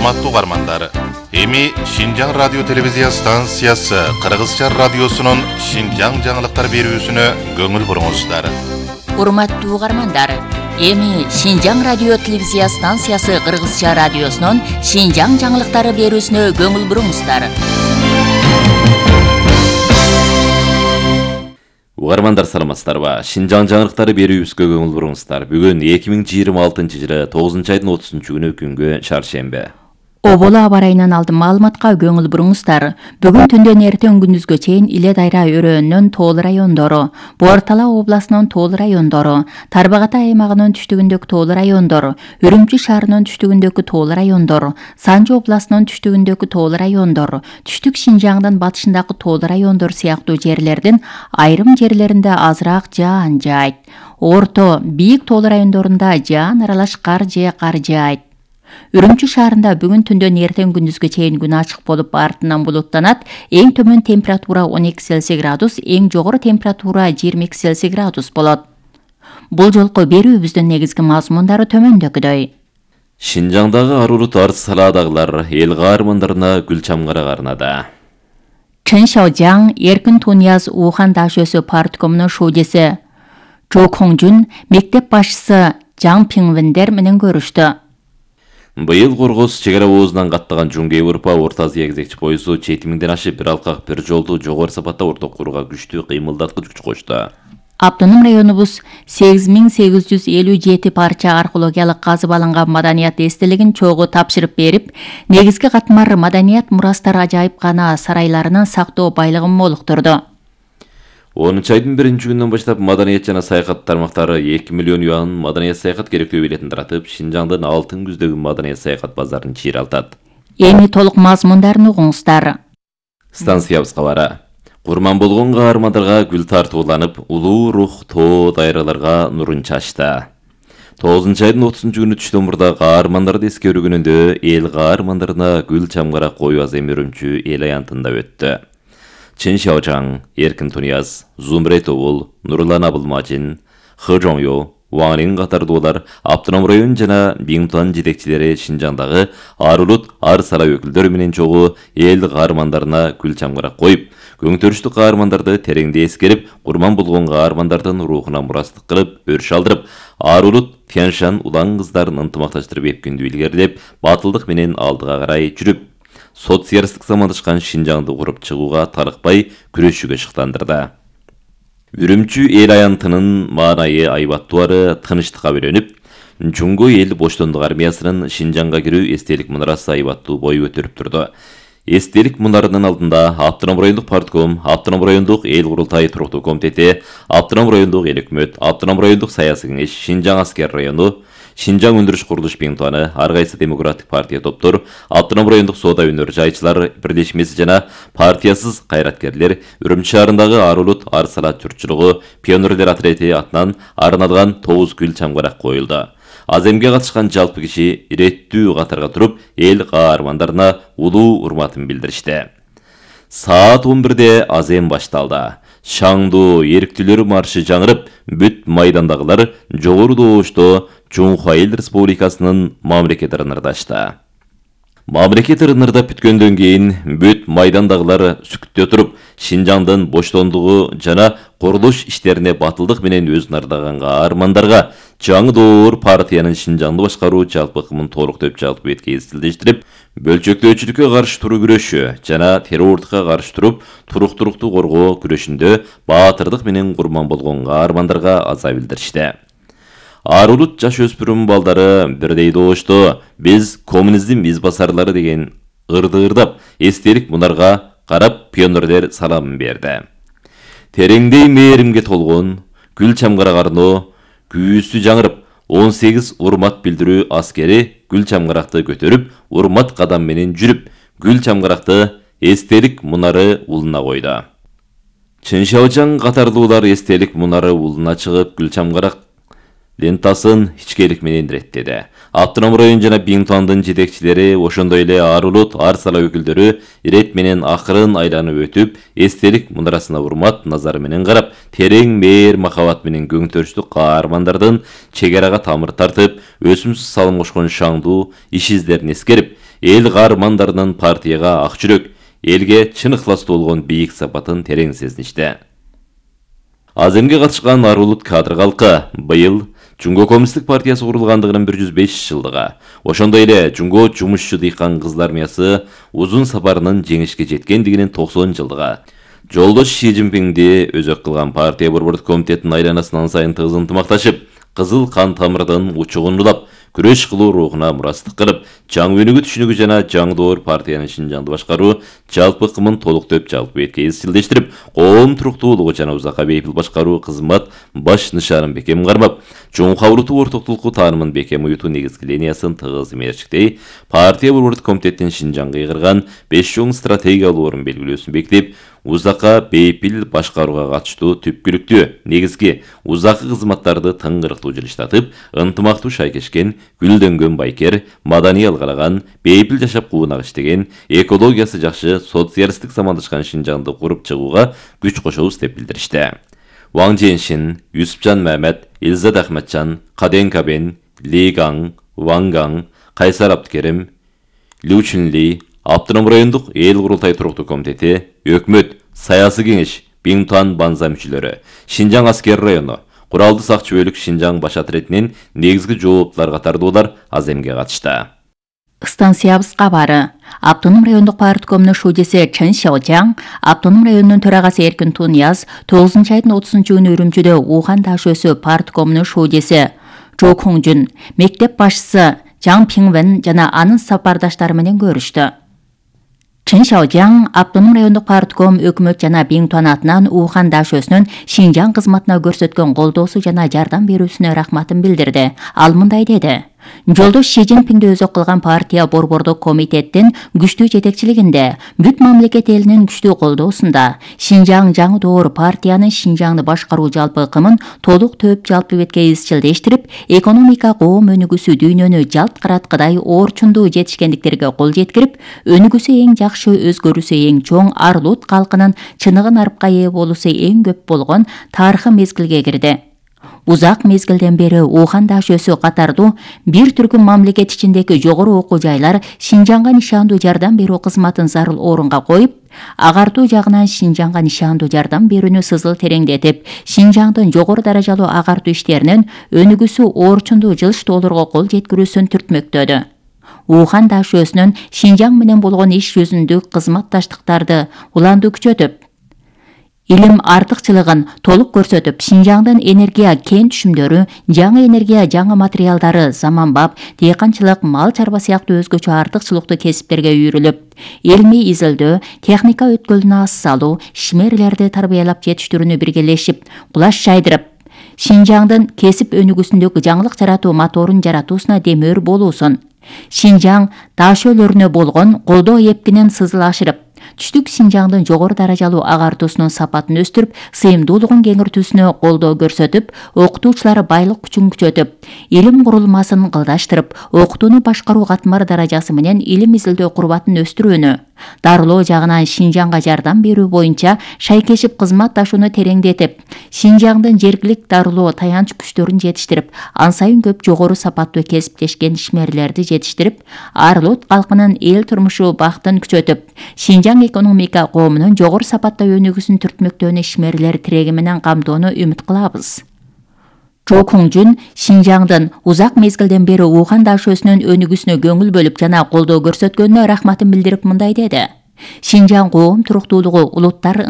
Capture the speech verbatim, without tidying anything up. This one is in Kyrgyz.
Урматтуу угармандар, эми Шинжаң радио телевизия станциясы Кыргызча радиосунун Шинжаң жаңылыктар берүүсүнө көңүл буруңуздар. Урматтуу угармандар, эми Шинжаң радио телевизия станциясы Кыргызча радиосунун Шинжаң жаңылыктары берүүсүнө көңүл буруңуздар. Угармандар саламатсыздарбы? Шинжаң жаңылыктары берүүбүзгө көңүл буруңуздар. Бүгүн эки миң жыйырма алтынчы жылы тогузунчу айдын отузунчу күнү күнгө чаршембе. Оболо аба ырайынан алдын маалыматка көңүл буруңуздар. Бүгүн түндөн эртең күндүзгө чейин Иле Дайра өрөөнүнүн Тоол райондору, Буартала областынын Тоол райондору, Тарбагатай аймагынын түштүгүндөгү Тоол райондору, Үрүмчү шаарынын түштүгүндөгү Тоол райондору, Санжы областынын түштүгүндөгү Тоол райондору, Түштүк Шинжаңдын батышындагы Тоол райондору сыяктуу жерлердин айрым жерлеринде азыраак жаан жаайт. Орто, бийик Тоол райондорунда жаан аралаш кар же кар жаайт. Үрүмчү шаарында бүгүн түндөн эртең күндүзгө чейин күн ачык болуп, артынан булуттанат. Эң төмөн температура он эки Цельсий градус, эң жогору температура жыйырма эки Цельсий градус болот. Бул жолку берүүбүздүн негизги мазмундары төмөндөгүдөй. Шинжаңдагы арулут арыз салаадагылар эл каармандарына гүл чамгара карнады. Чын Шаожаң, Эркин Тунияз Ухан Дашөсү парткомунун шуудеси Чо Коңжун мектеп башчысы Жаң Пиңвендер менен көрүштү. Быйыл Коргоз чек ара оозунан каттаган Жуңгей Урпа Орто Азия кезекчи поезду жети миңден ашып бир алкак бир жолду жогору сапатта орток курууга күчтүү кыймылдаткыч күч кошту. Автоном районубуз сегиз миң сегиз жүз элүү жети парча археологиялык казып алынган маданият эстелигин чогуу тапшырып берип, негизги катмар маданият мурастар ажайыпкана сарайларынын сактоо байлыгын молуктурду. онунчу айдын биринчи күнүнөн баштап маданият жана саякат тармактары эки миллион юан маданият саякат керектөө билетин таратып, Шинжаңдын алтын күздөгү маданият саякат базарын чыйралтат. Эми толук мазмундарын угуңуздар. Станциябыз кабары. Курман болгон каармандарга гүл тартууланып, улуу рух тоо дайраларга нурун чачты. тогузунчу айдын отузунчу күнү түштөн мурда каармандарды эскерүү күнүндө эл каармандарына гүл чамгара коюу азем Үрүмчү эл аянтында өттү. Чын Шаожаң, Эркин Тунияз, Зумрет Оул, Нурлан Абылмажин, Хы Жоңё, Ваңрин катардуулар автоном район жана Биңтуан жетекчилери Шинжаңдагы арулут ар сара өкүлдөрү менен чогуу эл каармандарына гүл чамгара коюп, көңтөрүштүү каармандарды тереңде эскерип, курман болгон каармандардын рухуна мурастык кылып, өрүш алдырып, арулут Тяншан улан кыздарын ынтымакташтырып эпкиндүү илгерилеп, батылдык менен алдыга карай жүрүп, социалисттик замандашкан Шинжаңды куруп чыгууга тарыкпай күрөшүүгө шыктандырды. Үрүмчү эл аянтынын маанайы айбаттуары тынычтыкка бөлөнүп, Жуңго эл боштондук армиясынын Шинжаңга кирүү эстелик мунарасы айбаттуу бой көтөрүп турду. Эстелик мунарынын алдында Автоном райондук партком, Автоном райондук эл курултай туруктуу комитети, Автоном райондук эл өкмөт, Автоном райондук саясий кеңеш, Шинжаң аскер району, Шинжаң өндүрүш курулуш Биңтуаны, ар кайсы демократик партия топтор, Автоном райондук соода өнөр жайчылар бирдешмеси жана партиясыз кайраткерлер Үрүмчү шаарындагы арулут ар сала журтчулугу пионерлер отряди атынан арналган тогуз гүл чамгарак коюлду. Аземге катышкан жалпы киши иреттүү катарга туруп, эл каармандарына улуу урматын билдиришти. Саат он бирде азем башталды. Шаңдуу эрктүүлөр маршы жаңырып, бүт майдандагылар жогору добушто Чуңха эл республикасынын мамлекет ырнырдашты. Мамлекет ырнырдап бүткөндөн кийин бүт майдандагылар сүкүттө туруп, Шинжаңдын боштондугу жана курулуш иштерине батылдык менен өзүн ардаган каармандарга жаңы доор партиянын Шинжаңды башкаруу жалпы ыкмын толуктоп жалпы бетке изилдештирип, бөлчөктөөчүлүккө каршы туруу күрөшү жана террордукка каршы туруп, туруктуулукту коргоо күрөшүндө баатырдык менен курман болгон каармандарга аза билдиришти. Арулут жаш өспүрүм балдары бирдей добушту «Биз коммунизм из басарлары» деген ырды ырдап, эстелик мунарга карап пионерлер саламын берди. Тереңдей мээримге толгон гүл чамгара карноо күүсү жаңырып, он сегиз урмат билдирүү аскери гүл чамгаракты көтөрүп, урмат кадам менен жүрүп, гүл чамгаракты эстелик мунары улуна койду. Чын Шаожаң катардуулар эстелик мунары улуна чыгып, гүл чамгарак лентасын ичкелик менен иреттеди. Автоном район жана Биңтуандын жетекчилери, ошондой эле арулут ар сала өкүлдөрү ирет менен акырын айланып өтүп, эстелик мунарасына урмат назары менен карап, терең мээр махабат менен көңтөрүштүү каармандардын чек арага тамыр тартып, өсүмсүз салым кошкон шаңдуу иш издерин эскерип, эл каармандарынын партияга ак жүрөк, элге чын ыхластуу болгон бийик сапатын терең сезиништи. Аземге катышкан арулут кадр калкы быйыл Жунго Коммунисттик партиясы курулгандыгынын бир жүз беш жылдыгы. Ошондой эле Жунго жумушчу дыйкан кызлар армиясы узун сапарынын жеңишке жеткендигинин токсон жылдыгы. Жолдош Ши Цзиньпинди өзөк кылган партия борбордук комитетинин айланасынан сайын тыгыз ынтымакташып, кызыл кан тамырдын учугун улап, күрөш кылуу рухуна мурастык кылып, жаңы өнүгүү түшүнүгү жана жаңдоор партиянын Шинжаңды башкаруу жалпы кымын толуктоп жалпы бетке изчилдештирип, коом туруктуулугу жана узакка бейпил башкаруу кызмат баш нышанын бекем кармап, чоң кабылтуу ортоктулукку таанымын бекем уютуу негизги линиясын тыгыз мерчиктей, партия борбордук комитетинин Шинжаңга ыйгырган беш чоң стратегиялуу орун белгилөөсүн бекитип, узакка бейпил башкарууга катыштуу түпкүлүктүү негизги узаккы кызматтарды тыңгырыктуу жылыштатып, ынтымактуу шайкешкен, гүлдөнгөн байкер, маданий алгалаган, бейпил жашап куунак иштеген, экологиясы жакшы, социалисттик замандашкан Шинжаңды куруп чыгууга күч кошобуз деп билдиришти. Ваң Женшин, Юсупжан Мамед, Илзат Ахматжан, Каден Кабен, Ли Гаң, Ваң Гаң, Кайсар Абдыкерим, Лю Чунли, Автоном райондук эл курултай туруктуу комитети, өкмөт, саясий кеңеш, Биңтуан Банза мүчөлөрү, Шинжаң аскер району, Куралды сакчы бөлүк Шинжаң баш атретинин негизги жооптулар катардуулар Аземге катышты. Станциябыз кабары. Автоном райондук парткомунун шудеси Чен Шаожаң, автоном районунун төрагасы Эркин Туньяз тогузунчу айдын отузунчу күнү Үрүмчүдө Ухан дашөөсү парткомунун шудеси Жо Коңжун, мектеп башчысы Жаң Пиңвен жана анын сапардаштары менен көрүштү. Чен Шаожаң автоном райондук партком өкмөт жана Биңтуан атынан Ухан дашөөсүнүн Шинжаң кызматына көрсөткөн колдоосу жана жардам берүүсүнө рахматын билдирди. Ал мындай деди: Жолдош Ши Цзиньпинди өзөк кылган партия борбордук комитеттин күчтүү жетекчилигинде, бүт мамлекет элинин күчтүү колдоосунда Шинжаң жаңы доор партиянын Шинжаңды башкаруу жалпы кымын толук төп жалпы бетке изчилдештирип, экономика коом өнүгүүсү дүйнөнү жалт караткыдай орчундуу жетишкендиктерге кол жеткирип, өнүгүүсү эң жакшы, өзгөрүүсү эң чоң Арлут калкынын чыныгы нарыпка ээ болуусу эң көп болгон тарыхый мезгилге кирди. Узак мезгилден бери Ухан дашөөсү катардуу бир түркүм мамлекет ичиндеги жогору окуу жайлар Шинжаңга нишандуу жардам берүү кызматын зарыл орунга коюп, агартуу жагынан Шинжаңга нишандуу жардам берүүнү сызыл тереңдетип, Шинжаңдын жогору даражалуу агартуу иштеринин өнүгүүсү орчундуу жылыштоолорго кол жеткирүүсүн түртмөктөдү. Ухан дашөөсүнүн Шинжаң менен болгон иш жүзүндүк кызматташтыктарды уланды күчөтүп, илим артыкчылыгын толук көрсөтүп, Шинжаңдын энергия кен түшүмдөрү, жаңы энергия, жаңы материалдары, заманбап дыйканчылык, мал чарба сыяктуу өзгөчө артыкчылыктуу кесиптерге үйрүлүп, илмий изилдөө, техника өткөлүнө ас салуу, ишмерлерди тарбиялап жетиштирүүнү биргелешип, кулаш жайдырып, Шинжаңдын кесип өнүгүүсүндөгү жаңылык жаратуу моторун жаратуусуна демөөр болуусун, Шинжаң дашөөлөрүнө болгон колдоо эптинен сызыл ашырып, түштүк Шинжаңдын жогору даражалуу агартуусунун сапатын өстүрүп, сыйымдуулугун кеңиртүүсүнө колдоо көрсөтүп, окутуучулар байлык күчүн күчөтүп, илим курулмасын кылдаштырып, окутууну башкаруу катмар даражасы менен илим изилдөө курбатын өстүрүүнү, дарылоо жагынан Шинжаңга жардам берүү боюнча шайкешип кызматташууну тереңдетип, Шинжаңдын жергилик дарылоо таянч күчтөрүн жетиштирип, ан сайын көп жогору сапаттуу кесиптешкен ишмерлерди жетиштирип, Арлут калкынын эл турмушу бактын күчөтүп, Шинжаң экономика коомунун жогору сапатта өнүгүүсүн түртмөктөөнү ишмерлер тиреги менен камтоону үмүт кылабыз. Жо Коңжун Шинжаңдын узак мезгилден бери Ухан дашөөсүнүн өнүгүүсүнө көңүл бөлүп жана колдоо көрсөткөнүнө рахматын билдирип мындай деди: Шинжаң коом туруктуулугу, улуттар